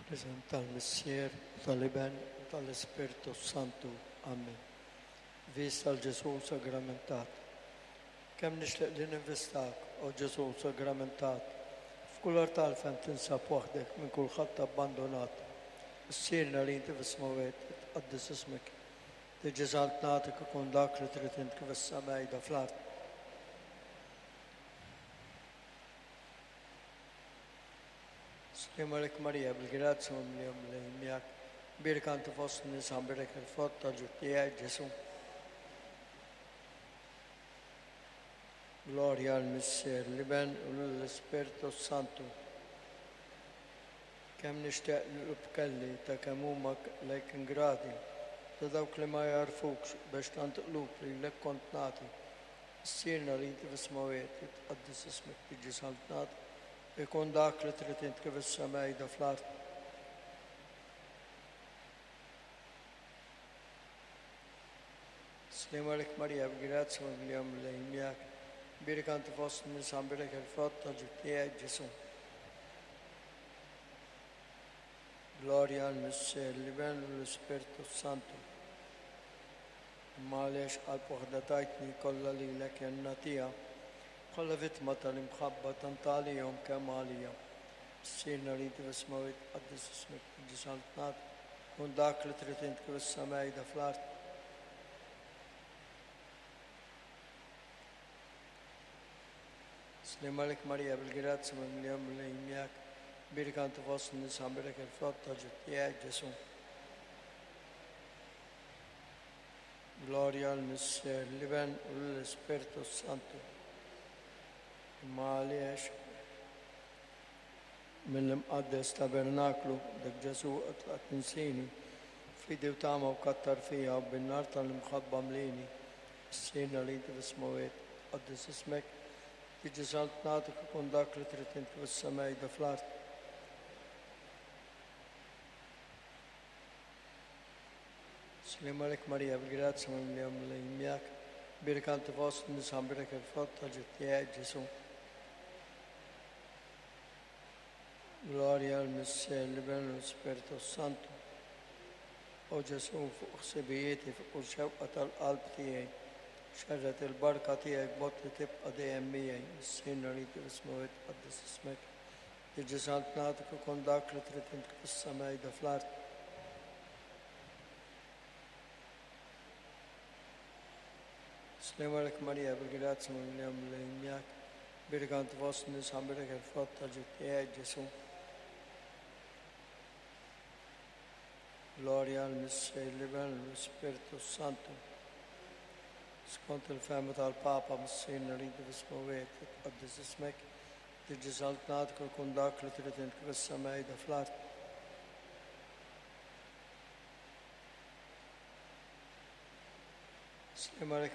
Fl-isem tal-Missier, u tal-Iben, u tal-Ispirtu Santu. Amen. Vista l Ġesù sagramentat. Kemm nixtieq li ninvistak, o Ġesù sagramentat, f'kull artal fejn tinsab waħdek minn kulħadd abbandunat. Missierna li inti fis-smewwiet, itqaddes ismek. Tiġi saltnatek ikun dak li trid int kif is-sema qiegħda fl-art. Sliem għalik Marija, bil-grazzja mimlija Mulej miegħek. Bierka inti fost in-nisa, mbierek il-frott tal-ġuf tiegħek, Ġesù. Glorja għall-Missier, l-Iben u lill-Ispirtu s-Santu. Kemm nixtieq li qlub kelli ta' kemm huma lejk ingrati, ta' dawk li ma jagħrfukx biex tant qlub lilek kont nagħti. Missierna li inti fis-smewwiet, jitqaddes ismek, tiġi saltnatek, ikun dak li trid int kif is-sema qiegħda fl-art. Sliem għalik Marija, b'grazzja mimlija Mulej miegħek. Bierka inti fost in-nisa, mbierek il-frott tal-ġuf tiegħek, Ġesù. Glorja għall-Missier, l-Iben u l-Ispirtu s-Santu. Imma għaliex qalb waħda tajtni kollha lilek jien nagħtiha, bħala vittma tal-imħabba tant għalihom kemm għalija. Missierna li inti fis-smewwiet, tqaddes ismek, tiġi saltnatek, Kun dak li trid int kif is-sema qiegħda fl-art. Sliem għalik Marija, bil-grazzja mimlija Mulej miegħek, bierka inti fost in-nisa, mbierek il-frott tal-ġuf tiegħek, Ġesù. Glorja l-Missier, l-Iben u l-Ispirtu Santu. Imma għaliex Mill-imqaddes tabernaklu, dak Ġesù tlaqt tinsini, fidi u tama u kattar fija u bin-nar tal-imħabba mlini. Missierna li inti fis-smewwiet, tqaddes ismek, tiġi saltnatek ikun dak li trid int kif is-sema qiegħda fl-art. Sliem għalik Marija, bil-grazzja mimlija Mulej miegħek, bierka inti fost in-nisa mbierek il-frott tal-ġuf tiegħek Ġesù. Glorja l-Missier, l-Iben u l-Ispirtu Santu. O Ġesù, fuq ħsibijieti, fuq kull xewqa tal-qalb tiegħi, xerred il-barka tiegħek b'mod li tibqa' dejjem miegħi. Missierna li inti fis-smewwiet, tqaddes ismek. Tiġi saltnatek ikun dak li trid int kif is-sema qiegħda fl-art. Sliem għalik Marija, bil-grazzja mimlija Mulej miegħek. Bierka int fost in-nisa, mbierek il-frott tal-ġuf tiegħek, Ġesù. Glorja l-Missier, l-Iben u l-Ispirtu Santu. Skont il-fehma tal-Papa, Missierna li inti fis-smewwiet, titqaddes ismek, tiġi saltnatek u jkun dak li trid int kif is-sema qiegħda fl-art. Sliem għalik.